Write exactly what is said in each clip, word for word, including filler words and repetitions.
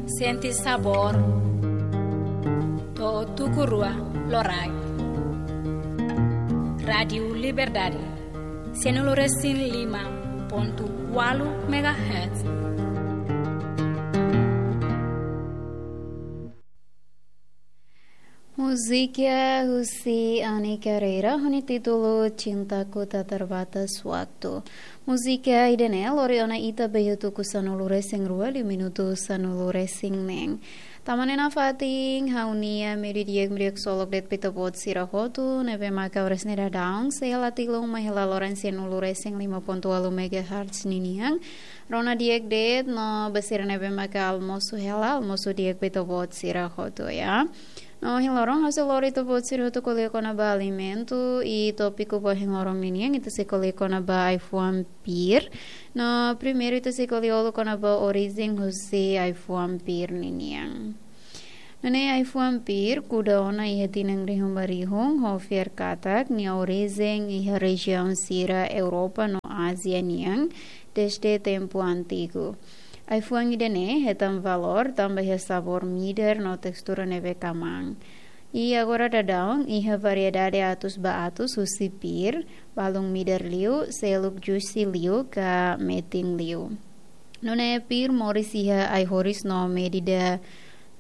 Sente sabór. To'o tuku rua loraik. Rádiu Liberdade, sianulu resin lima pontu ualu megahertz. Múzika husi Ani Carreira, ho nia títulu Cintaku Tak Terbatas Waktu. Múzika ida-ne'e lori ona ita ba iha tuku sanulu resin rua liu minutu sanulu resin neen. Tanba ne'e nafatin ha'u-nia meiudia di'ak, meiudia ksolok de'it ba ita-boot sira hotu, ne'ebé maka oras ne'e daudaun sei hela tilun mai hela loron sianulu resin lima pontu ualu megahertz ninian. Rona di'ak de'it no ba sira ne'ebé maka almosu hela, almosu di'ak ba ita-boot sira hotu, ya. No ohin loron ha'u sei lori ita-boot sira hotu ko'alia kona-ba alimentu, i tópiku ba ohin loron ninian ita sei ko'alia kona-ba ai-fuan pir. No primeiru ita sei ko'alia uluk kona-ba orijen husi ai-fuan pir ninian. Nune'e ai-fuan pir kuda ona iha tinan rihun ba rihun, ho fiar katak nia orijen iha rejiaun sira Europa no Ázia nian dezde tempu antigu. Ai-fuan ida-ne'e hetan valór tanba iha sabór midar no testura ne'ebé kmaan. I agora daudaun iha variedade atus ba atus husi pir, balun midar liu, seluk juicy liu ka metin liu. Nune'e pir moris iha ai-horis no medida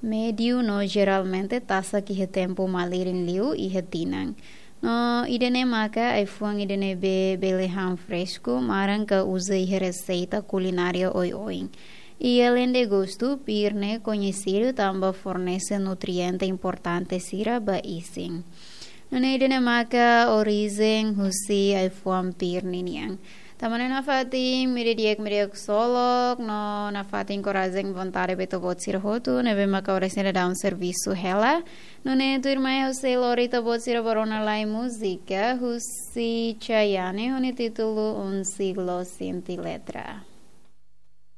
médiu no jeralmente tasak iha tempu malirin liu iha tinan. No ida-ne'e maka ai-fuan ida ne'ebé bele han fresku, maran ka uza iha reseita kulinária oioin. I aleinde gostu, pir ne'e koñesidu tanba fornese nutriente importante sira ba isin. Nune'e ida-ne'e maka orijen husi ai-fuan pir ninian. Tanba ne'e nafatin meiudia di'ak, meiudia ksolok, no nafatin korajen, vontade ba ita-boot sira hotu ne'ebé maka oras ne'e daudaun servisu hela. Nune'e tuirmai ha'u sei lori ita-boot sira ba rona lai múzika husi Chayanne, ho nia títulu Un Siglo Sin Ti Letra.